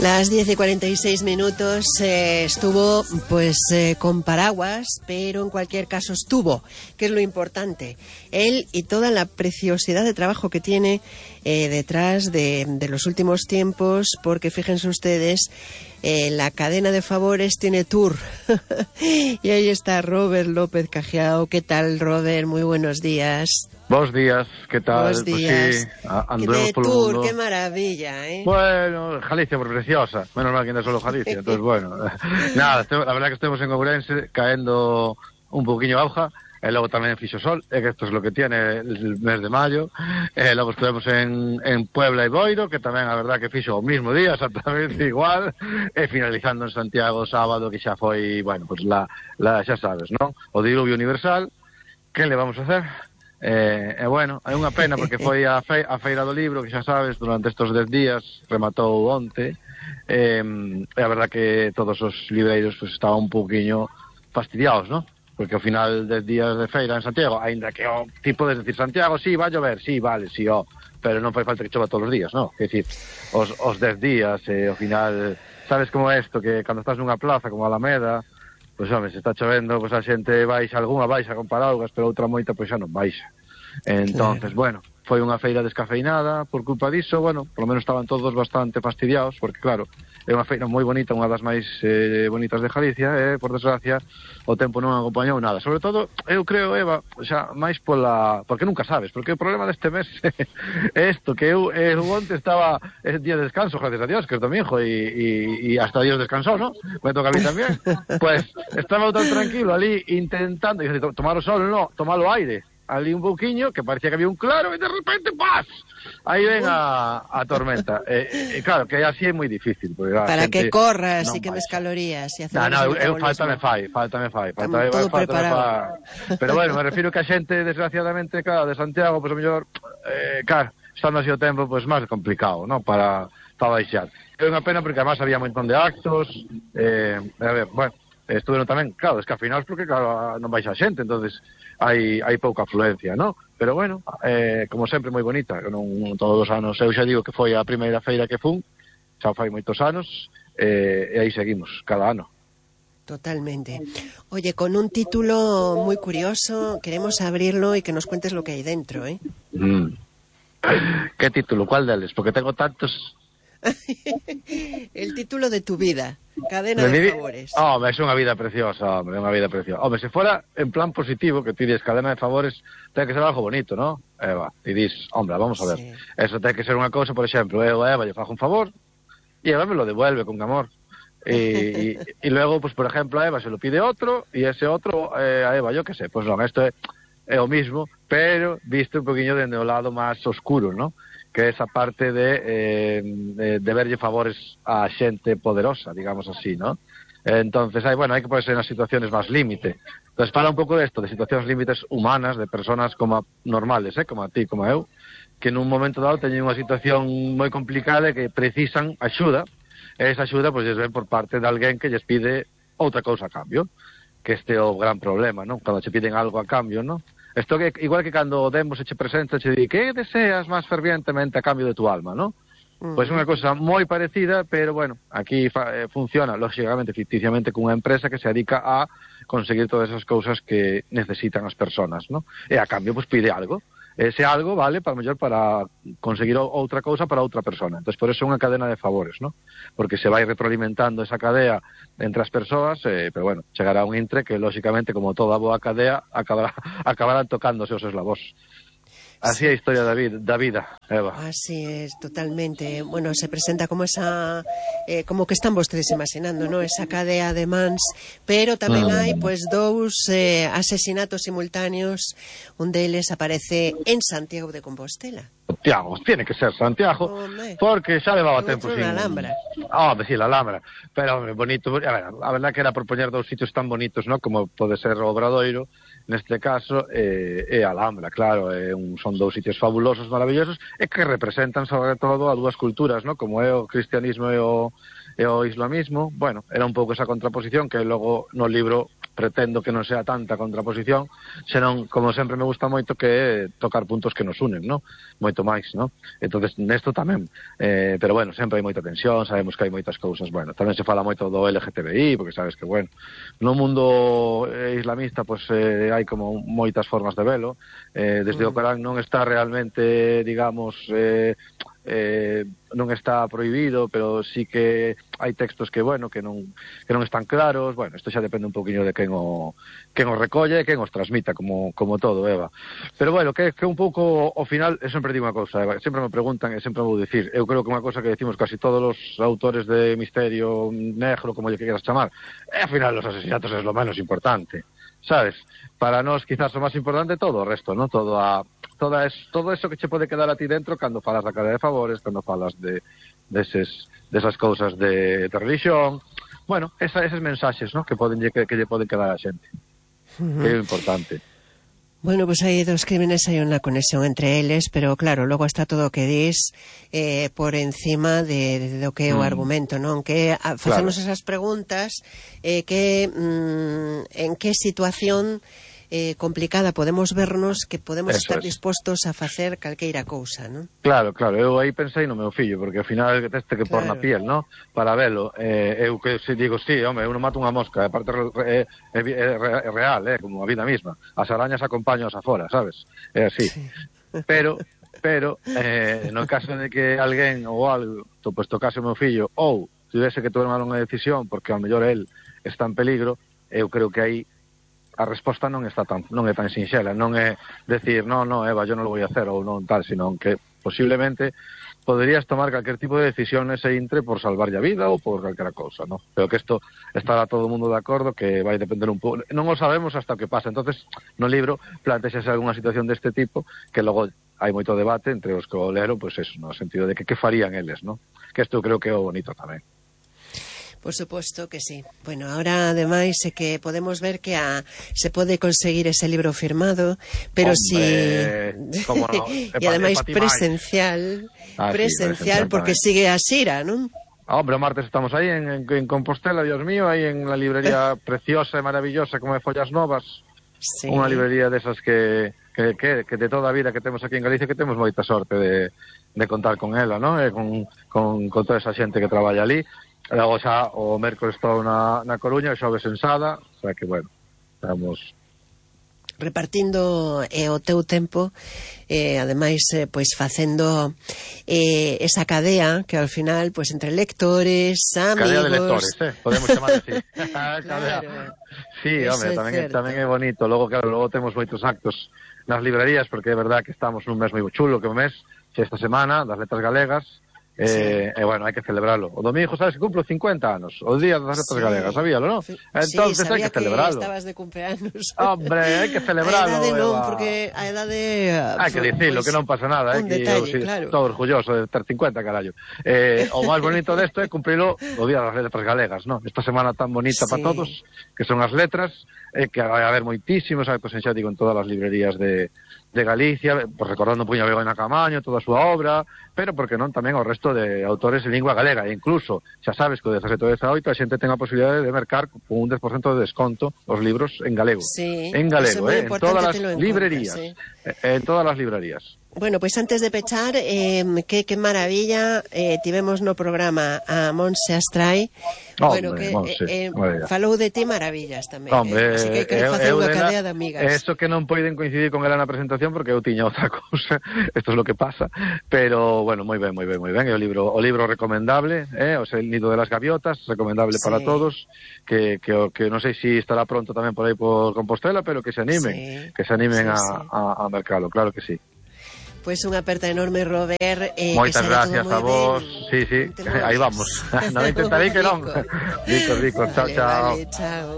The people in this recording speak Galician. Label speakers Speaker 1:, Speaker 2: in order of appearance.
Speaker 1: Las 10:46 estuvo pues con paraguas, pero en cualquier caso estuvo, que es lo importante. Él y toda la preciosidad de trabajo que tiene detrás de los últimos tiempos, porque fíjense ustedes, la cadena de favores tiene tour. Y ahí está Robert López Cajiao. ¿Qué tal, Robert? Muy buenos días.
Speaker 2: Buenos días, ¿qué tal?
Speaker 1: Buenos días.
Speaker 2: Pues sí, andemos
Speaker 1: ¡Qué
Speaker 2: por el
Speaker 1: tour!
Speaker 2: mundo.
Speaker 1: ¡Qué maravilla!
Speaker 2: Bueno, Galicia por preciosa. Menos mal que no es solo Galicia, entonces bueno. Nada, la verdad que estemos en Ourense caendo un poquinho auja. Logo tamén fixo sol, que isto es lo que tiene el mes de mayo. Logo estuvemos en Puebla e Boiro, que tamén a verdad que fixo o mismo día, exactamente igual. E finalizando en Santiago sábado, que xa foi, bueno, pues xa sabes, non? O diluvio universal. Que le vamos a hacer? Bueno, é unha pena porque foi a Feira do Libro, que xa sabes, durante estes 10 días, rematou onte. A verdad que todos os libreiros pues, estaban un pouquiño fastidiados, non? Porque ao final 10 días de feira en Santiago, aínda que o tipo de decir Santiago, sí, va a llover, sí, vale, sí, pero non fai falta que chova todos os días, non? Quer dicir, os 10 días, ao final, sabes como é isto, que cando estás nunha plaza como Alameda, pois, home, se está chovendo, pois a xente baixa, algunha baixa con paraugas, pero outra moita, pois xa non baixa. Entonces, bueno, foi unha feira descafeinada por culpa diso, bueno, polo menos estaban todos bastante fastidiados, porque claro, é unha feira moi bonita, unha das máis bonitas de Galicia, e, por desgracia, o tempo non acompañou nada. Sobre todo, eu creo, Eva, xa máis porque nunca sabes, porque o problema deste mes é isto, que eu onte estaba día de descanso, gracias a Dios, que é domingo, e hasta Dios descansou, ¿no? Me toca a mí tamén. Pues, estaba tan tranquilo ali, intentando, tomar o sol, no, tomar o aire, ali un pouquiño, que parecía que había un claro, e de repente, ¡paz! Aí ven a tormenta. Claro, que así é moi difícil.
Speaker 1: Para que corras e quemes calorías.
Speaker 2: Faltame fai.
Speaker 1: Todo preparado.
Speaker 2: Pero bueno, me refiro que a xente, desgraciadamente, claro, de Santiago, pois pues, o mellor, claro, estando así o tempo, pois pues, máis complicado, non? Para baixar. É unha pena porque además había un montón de actos, a ver, bueno, estuveron tamén, claro, descafinados porque, claro, non baixa a xente, entonces hai pouca afluencia, non? Pero bueno, como sempre moi bonita, non todos os anos, eu xa digo que foi a primeira feira que fun, xa fai moitos anos, e aí seguimos, cada ano.
Speaker 1: Totalmente. Oye, con un título muy curioso, queremos abrirlo y que nos cuentes lo que hay dentro, ¿eh?
Speaker 2: ¿Qué título? ¿Cuál deles? Porque tengo tantos...
Speaker 1: El título de tu vida, cadena de favores.
Speaker 2: É unha vida preciosa, hombre, é unha vida preciosa. Hombre, se fora en plan positivo, que ti dis cadena de favores, ten que ser algo bonito, ¿no? Eva, ti dis, hombre, vamos a ver. Sí. Eso ten que ser unha cousa, por exemplo, eu a Eva lle fago un favor, e Eva me lo devuelve con amor. Y luego, pues por ejemplo, a Eva se lo pide otro, y ese otro a Eva, yo que sé, pues non, isto é o mismo, pero visto un poquinho dende o lado máis oscuro, ¿no? Que é esa parte de verlle favores a xente poderosa, digamos así, ¿no? Entonces, hai que ponerse nas situaciones máis límite. Entonces, fala un pouco de esto, de situacións límites humanas, de personas como normales, como a ti, como eu, que nun momento dado teñen unha situación moi complicada e que precisan axuda, e esa axuda, pois, ven por parte de alguén que lles pide outra cousa a cambio, que este é o gran problema, ¿no? Cando che piden algo a cambio, ¿no? Esto que igual que cando Demos se che presenta, che di que deseas máis fervientemente a cambio de tu alma, ¿no? Pois unha cosa moi parecida, pero bueno, aquí funciona, lógicamente, ficticiamente, cunha empresa que se dedica a conseguir todas esas cousas que necesitan as personas, ¿no? E a cambio, pues pide algo. Ese algo vale para conseguir outra cousa para outra persona. Entón, por eso é unha cadena de favores, ¿no? Porque se vai retroalimentando esa cadea entre as persoas, pero bueno, chegará un intre que, lógicamente, como toda boa cadea, acabarán tocándose os eslabós. Así é a historia da vida, Eva.
Speaker 1: Así es, totalmente. Bueno, se presenta como esa, como que están vostedes imaginando, ¿no? Esa cadea de mans, pero tamén hai, pues, dous asesinatos simultáneos. Un deles aparece en Santiago de Compostela.
Speaker 2: Santiago, tiene que ser Santiago, porque xa levaba tempo sin...
Speaker 1: La Alhambra.
Speaker 2: Sí, la Alhambra. Pero, hombre, bonito. A verdad que era por poñer dous sitios tan bonitos, ¿no? Como pode ser o Obradoiro, neste caso, e a Alhambra, claro, son dous sitios fabulosos, maravillosos, e que representan sobre todo a dúas culturas, ¿no? Como é o cristianismo e o islamismo. Bueno, era un pouco esa contraposición que logo no libro pretendo que non sea tanta contraposición, senón, como sempre me gusta moito, que é tocar puntos que nos unen, ¿no? Moito máis, ¿no? Entonces, nesto tamén, pero bueno, sempre hai moita tensión, sabemos que hai moitas cousas, bueno, tamén se fala moito do LGTBI, porque sabes que, bueno, no mundo islamista, pues hai como moitas formas de velo, desde o Corán non está realmente, digamos, non está prohibido, pero sí que hai textos que, bueno, que non están claros. Bueno, isto xa depende un poquinho de quen o recolle e quen os transmita, como todo, Eva. Pero bueno, que un pouco ao final, eu sempre digo unha cousa, Eva, sempre me preguntan e sempre vou dicir, eu creo que unha cousa que decimos casi todos os autores de misterio negro, como lle queras chamar, ao final os asesinatos é lo menos importante, sabes? Para nós quizás o máis importante todo o resto, ¿no? Todo eso que che pode quedar a ti dentro cando falas da cadea de favores, cando falas desas cousas de religión. Bueno, eses mensaxes, ¿no? que lle poden quedar a xente. Que é importante.
Speaker 1: Bueno, pues hai dos crímenes, hai unha conexión entre eles, pero claro, logo está todo o que dis por encima de do que é o argumento, non? Que facemos esas preguntas, en que situación complicada podemos vernos que podemos estar dispostos a facer calqueira cousa, non?
Speaker 2: Claro, eu aí pensei no meu fillo, porque ao final teste que por na piel, non? Para velo, eu que se digo, sí, home, eu non mato unha mosca, aparte é real, como a vida misma. As arañas acompaños afora, sabes? É así. Sí. Pero no caso de que alguén ou algo, pues tocase o meu fillo, ou tivese que tomar unha decisión, porque ao mellor el está en peligro, eu creo que aí a resposta non é tan sinxela, non é decir, no, Eva, yo non lo voy a hacer, ou non tal, sino que posiblemente poderías tomar calquer tipo de decisión nese intre por salvarlle a vida ou por calquera cousa, ¿no? Pero que isto estará todo o mundo de acordo, que vai depender un pouco, non o sabemos hasta o que pasa. Entonces, no libro plantexase algunha situación deste tipo que logo hai moito debate entre os que o leron, pois eso, no sentido de que farían eles, ¿no? Que isto creo que é o bonito tamén.
Speaker 1: Por suposto que sí. Bueno, ahora ademais é que podemos ver que se pode conseguir ese libro firmado, pero
Speaker 2: como no,
Speaker 1: e ademais presencial, porque sigue a xira, non?
Speaker 2: Hombre, o martes estamos aí en Compostela, Dios mío, aí en la librería preciosa e maravillosa como é Follas Novas, unha librería desas que de toda a vida que temos aquí en Galicia, que temos moita sorte de contar con ela, non? E con toda esa xente que traballa ali. Logo xa o mércoles estou na Coruña, o xoves en Sada, o sea que, bueno, estamos
Speaker 1: repartindo o teu tempo, ademais, pois facendo esa cadea que ao final, pois entre lectores, amigos...
Speaker 2: Cadea de lectores, podemos chamar así. Claro. Sí, home, tamén é bonito. Logo temos moitos actos nas librerías, porque é verdad que estamos nun mes moi chulo, que o mes, esta semana, das letras galegas. Bueno, hai que celebralo. O domingo, sabes que cumplo 50 anos, o día das letras galegas, sabíalo, non? Entonces hai que celebralo.
Speaker 1: Estabas de cumpleaños.
Speaker 2: Hombre, hai que celebralo.
Speaker 1: A edade non, porque a edade...
Speaker 2: Hai que dicirlo, que non pasa nada,
Speaker 1: un detalle, claro.
Speaker 2: Estou orgulloso de ter 50, carallo. O máis bonito desto é cumprilo o día das letras galegas, non? Esta semana tan bonita para todos, que son as letras, que vai haber moitísimos actos, xa digo, en todas as librerías de Galicia, pues recordando un puño a Begoña Camaño, toda a súa obra, pero porque non tamén o resto de autores en lingua galega, e incluso, xa sabes que o 17 e 18 a xente ten a posibilidade de mercar con un 10% de desconto os libros en galego.
Speaker 1: Sí,
Speaker 2: en galego, en todas as librerías. En todas as librerías.
Speaker 1: Bueno, pois antes de pechar, que maravilla, tivemos no programa a Montse Astray, bueno, que falou de ti maravillas tamén.
Speaker 2: Hombre,
Speaker 1: así que hai que facer unha cadea de amigas.
Speaker 2: Eso que non poiden coincidir con ela na presentación, porque eu tiña outra cousa, isto é lo que pasa, pero, bueno, moi ben, é o libro recomendable, o sea, El nido de las gaviotas, recomendable para todos, que non sei se estará pronto tamén por aí por Compostela, pero que se animen a mercalo, claro que sí.
Speaker 1: Pois unha aperta enorme, Robert.
Speaker 2: Moitas gracias a vos. Sí, aí vamos. Non intentarei que non. Rico, chao.
Speaker 1: Vale, chao.